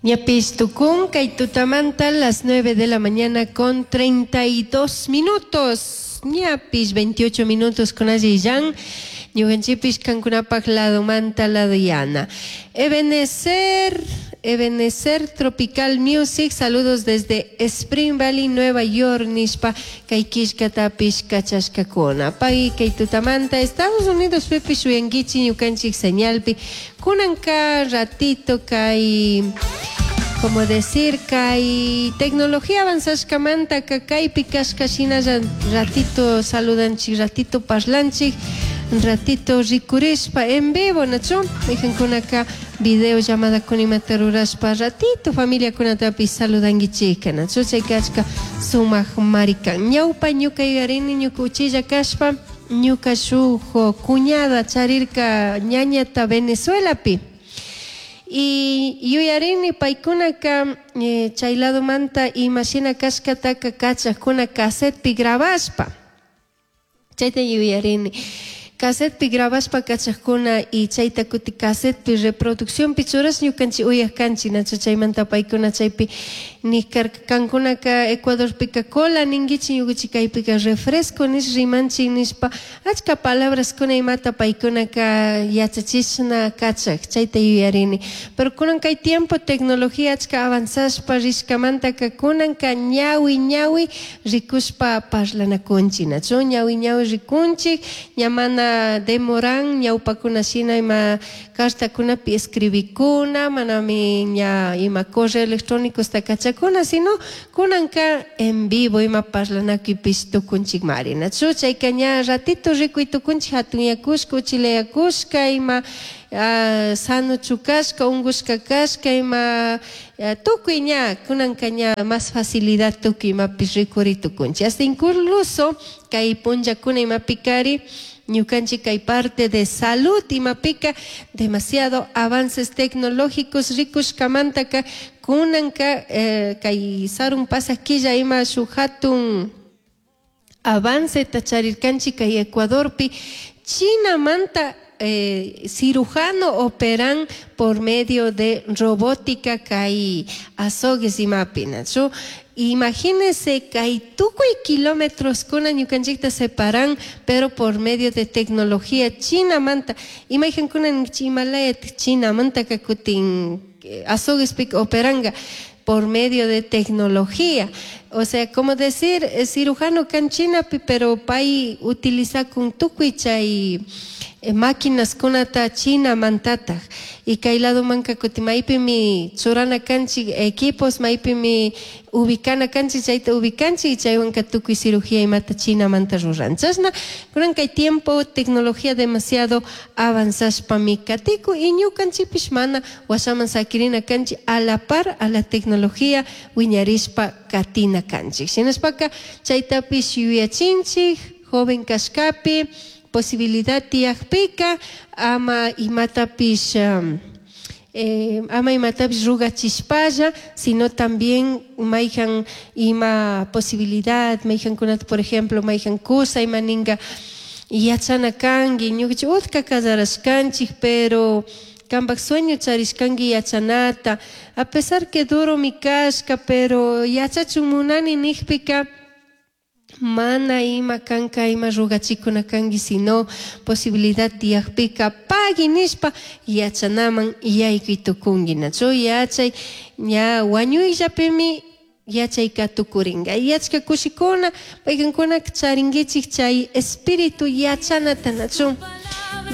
Ñapish tukun kay tutamanta las 9 de la mañana con 32 minutos. Ñapish 28 minutos con allillan. Ñukanchikpish kankunapak ladomanta ladoyana. Ebenezer, Ebenezer Tropical Music, saludos desde Spring Valley, Nueva York, nishpa kay killkatapish kachashkakuna. Pay kay tutamanta Estados Unidos pipish uyankichik ñukanchik señalpi. Kunanka ratito kay como decir kay tecnología avanzashkamanta kaypi kashka shinalla ratito saludanchik, ratito parlanchik, ratito rikurishpa en vivo, nachu? Maykankunaka video llamada kunimata rurashpa ratito familiakunatapish saludankichikka, nachu? Chayka achka sumak marikan. Ñawpa ñuka yuyarini ñuka uchilla kashpa ñuka shuk cuñada charirka ñañata Venezuelapi. Y yuyarini paykunaka chay ladomanta imashina kashkataka kachakuna casetpi grabashpa. Chayta yuyarini. Casetpi grabashpa kachakuna y chayta kuti casetpi reproduccionpi churash ñukanchik uyak kanchik, nachu? Chaymanta paykuna chaypi nikarka kankunaka Ecuadorpika cola ninkichik, ñukanchik kaypika refresco nish rimanchik nishpa achka palabraskuna imata paykunaka yachachishna kachak, chayta yuyarini. Pero kunan kay tiempo tecnología achka avanzashpa rishkamantaka kunanka ñawi ñawi rikushpa parlanakunchik, nachu? Ñawi ñawi rikunchik, ña mana demoran ñawpakuna shina ima cartakunapi escribikuna, manami ña ima correo electrónicosta kachakuna, sino kunanka en vivo ima parlanakuypish tukunchikmari, nachu? Chayka ña ratito rikuy tukunchik hatunyakushka, uchilayakushka, ima sanochu kashka, unkushka kashka, ima tukuy ña kunanka ña más facilidad tukuy imapish rikuri tukunchik. Hasta incluso kay punllakuna imapikari ñukanchik kay parte de salud imapika demasiado avances tecnológicos rikushkamantaka kunanka kay sarun pasaq killa ima shuk hatun avanceta charirkanchik kay Ecuadorpi Chinamanta cirujano operan por medio de robótica kay azogues imapi, nachu? Imagínense kay tukuy kilómetros kuna ñukanchikta separan, pero por medio de tecnología Chinamanta. Imaykankuna Himalaya Chinamantaka kutin azoguespika operanga por medio de tecnología. O sea, como decir, cirujano kan Chinapi, pero pay utiliza kun tukuy chay máquinas kunata Chinamantataj. Y kay ladomanka kutin maypimi churana kanchik equipos, maypimi ubicana kanchik, chayta ubicanchik y chaywanka tukuy cirugía imata Chinamanta ruran. Chashna, kunan kay tiempo tecnología demasiado avanzashpami katiku y ñukanchikpish mana washaman sakirina kanchik a la par a la tecnología wiñarishpa katina kanchik. Shinashpaka chaytapish yuyachinchik joven kashkapi posibilidad tiyakpika ama imatapish rugachishpalla, sino también mayhan ima posibilidad, mayhankunata, por ejemplo, mayhan kusa ima ninga yachana kanki, ñukanchik utka kasarashkanchik, pero kanpak sueño charishkanki yachanata, a pesar que duro mi kashka, pero yachachun munani nijpika, mana ima kanka ima rugachikuna kanki, sino posibilidad tiyakpika pagui nishpa yachanaman yaykuy tukunki, nachu? Yachay ña wañuyllapimi yachayka tukuringa. Y achka kushikuna paykankuna charinkichik chay espíritu yachanata, nachu?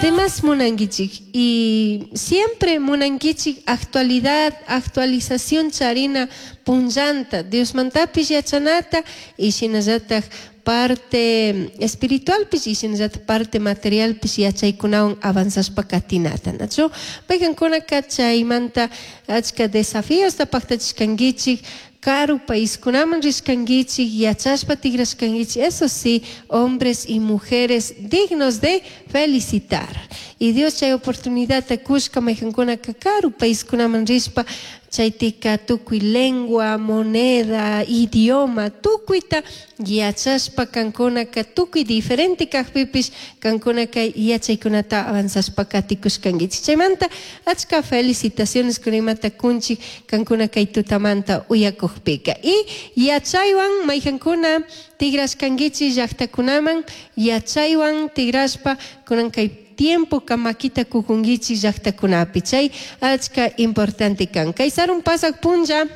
Demás munankichik y siempre munankichik actualidad, actualización charina punllanta, Diosmantapish yachanata y shinallatak parte espiritualpish y shinallatak parte materialpish yachaykunawan avanzashpa katinata, nachu? Paykankunaka chaymanta achka desafíosta paktachishkankichik, karu paiskunaman rishkankichik, yachashpa tigrashkankichik, eso sí, hombres y mujeres dignos de felicitar. Y Dios chay oportunidad kushka maykankunaka karu paiskunaman rishpa. Chaytika tukuy lengua, moneda, idioma, tukuyta yachashpa kankunaka tukuy diferente kajpipish kankunaka yachaykunata avanzashpa katikushkankichik. Chaymanta achka felicitaciones kunimata kunchik kankuna kay tutamanta uyakukpika. Y yachaywan mayjankuna tigrashkankichik llaktakunaman, yachaywan tigrashpa kunan kay tiempo makita kukunkichik llaktakunapi. Chay achka importante kan. Kay sarun pasak punlla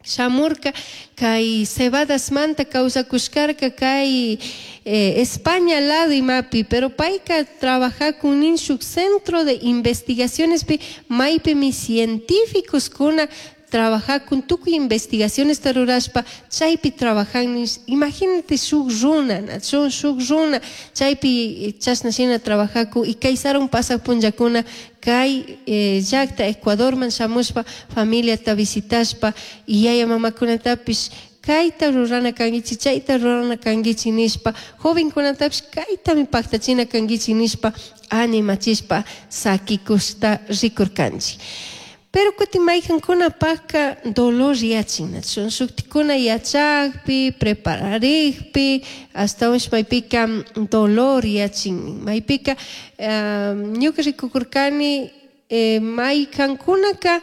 shamurka kay cebadasmanta kawsakushkarka kay España lado imapi, pero payka trabajakun nin shuk centro de investigacionespi maypimi científicos kuna trabajakun tukuy investigacionesta rurashpa chaypi trabajan nish. Imagínate shuk runa, nachu shuk runa chaypi chashna shina trabajakun y kay sarun pasak punllakuna kay llakta Ecuadorman shamushpa familiata visitashpa y yaya mamakunatapish kayta rurana kankichik, chayta rurana kankichik nishpa, jovenkunatapish kaytami paktachina kankichik nishpa animachishpa sakikushta rikurkanchik. Pero kutin maykankunapakka dolor yachin, nachu shuktikuna yachakpi, prepararikpi, ashtawanshi maypika dolor yachin. Maypika ñuka rikukurkani maykankunaka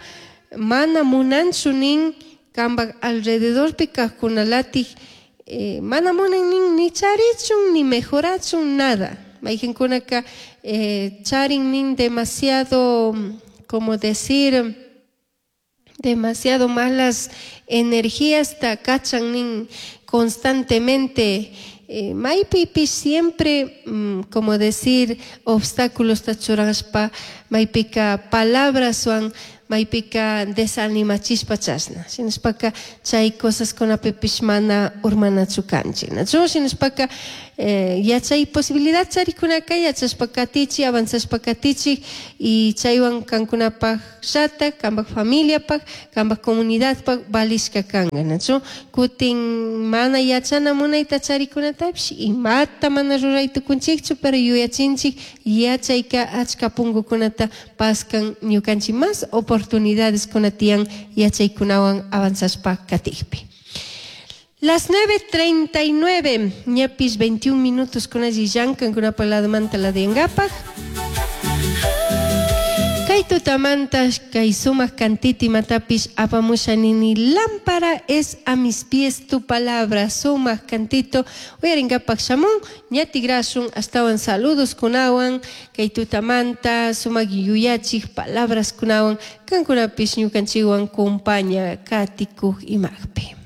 mana munanchu nin kanpak alrededorpi kajkunalatik mana munan nin ni charichun ni mejorachun nada. Maykankunaka charin nin demasiado, como decir, demasiado malas energías ta kachan nin constantemente. Maypipish siempre, como decir, obstáculos ta churashpa, maypika palabraswan, maypika desanimachishpa chashna. Shinashpaka chay cosaskunapipish mana urmanachu kanchik. Nachu shinashpaka yachay posibilidad charikunaka yachashpa katichik, avanzashpa katichik y chaywan kankunapak llata, kanpak familiapak, kanpak comunidadpak valishka kanka. Nachu kutin mana yachana munayta charikunatapish imata mana ruray tukunchikchu, pero yuyachinchik yachayka achka punkukunata paskan ñukanchik más oportunidades kunatiyan yachaykunawan avanzashpa katikpi. Las 9:39, ñapis 21 minutos con allillan, kankunapa ladomanta la de. Kay tutamanta kay sumaq kantiti matapis apamusha nini lámpara es a mis pies tu palabra, sumaq cantito uyarinkapak shamun ñatigrasun astawan saludos kunawan kay tutamanta sumaq yuyachik palabras kunawan kankunapis ñukanchikwan kumpaña katikuq imaqpi.